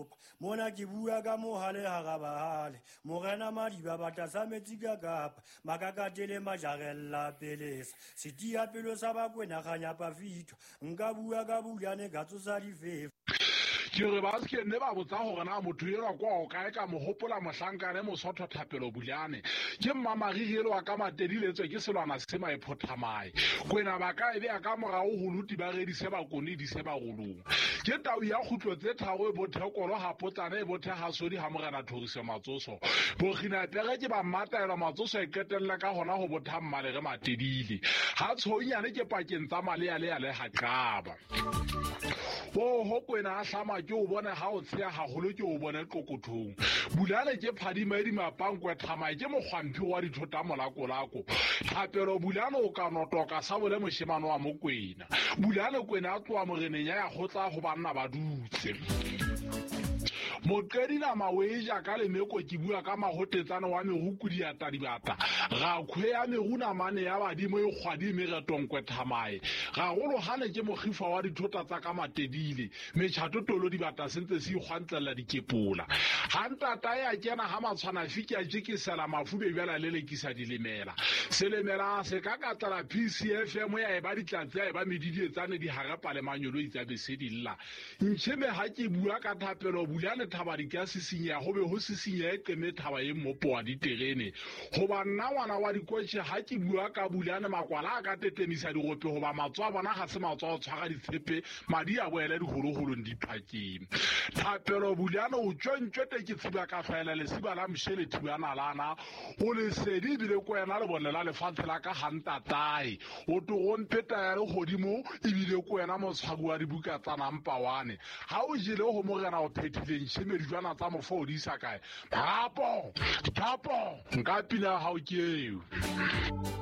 letsopa. Mona ke bua ka mohale hara bahale. Morena Madiba bata sa metsi ka kapa. Makakatele majarella pelesa. Setia pelo sa Bakwena kganyapa fito. Nka bua ka Bulane ka tsosa difefo. Ke re ba se nne ba botsa gore na motho elwa kwa o kae, ka mo gopola mohlankane Mosotho Thapelo Bulane. Ke mmamariri elwa ka Matedi letswe ke selwana se maephothamae. Kwena ba ka e beya ka morago go luti ba redise bakone dise barolong. Ke tau ya kgutlo tse tharo e bothekolo ga potlana e bothe ga sodi ga morena Thoriso Matsoso. Bokginapere ke ba mmataelwa Matsoso e qetella ka hona go botha mmalere Matedile. Ga tshounyane ke pakeng tsa malea le ga qaba. Oho kwena a hlama ke o bone ga o tsheya gagolo ke o bone qokothong. Bulane ke phadima e dimapankwe thamae ke mokgwamphi wa dithota molakolako. Thapelo Bulane o ka notoka sa bole moshemane wa Mokwena. Bulane kwena a tloa moreneng ya ya kgotla go banna ba dutse. Moqedi nama o e ja ka lemeko ke bua ka mahotetsane wa merukudi ya tadibata. Ga kgwe ya meru namane ya badimo e kgwadi meretonkwe thamae. Gagolo gane ke mogifa wa dithota tsa ka Matedile. Metšhato tolo dibata sentse se ikgwantlela dikepola. Ga ntata ya kena ga matshwana fiki a jekesela mafube bjala le lekisa dilemela. Selemela se ka katlela PCFM ya eba ditlatse ya eba medidietsane di harepa le manyolo itsa bese di lla. Ntšheme ga ke bua ka Thapelo Bulane thaba di ka sisinyeha go be go sisinyehe qeme thaba ye mmopo wa diterene. Goba nna ngwana wa dikotšhe ga ke bua ka Bulane makwala a ka tetemisa digope goba matso a bona ga se matso a go tshwara ditshepe madi a boele digologolong diphakeng. Thapelo Bulane o tšontšwete ke tshiba ka hlwaela lesiba la mošele thibanalana o lesedi ebile ko wena lebone la lefatshe la ka gantatae o togompeta ya legodimo ebile ko wena motshwari wa dibuka tsa nampawane ga o jele go morena o phethileng tšhemedijwana tsa mofo o di isa kae. Thapo thapo nka pina ya gago ke eo.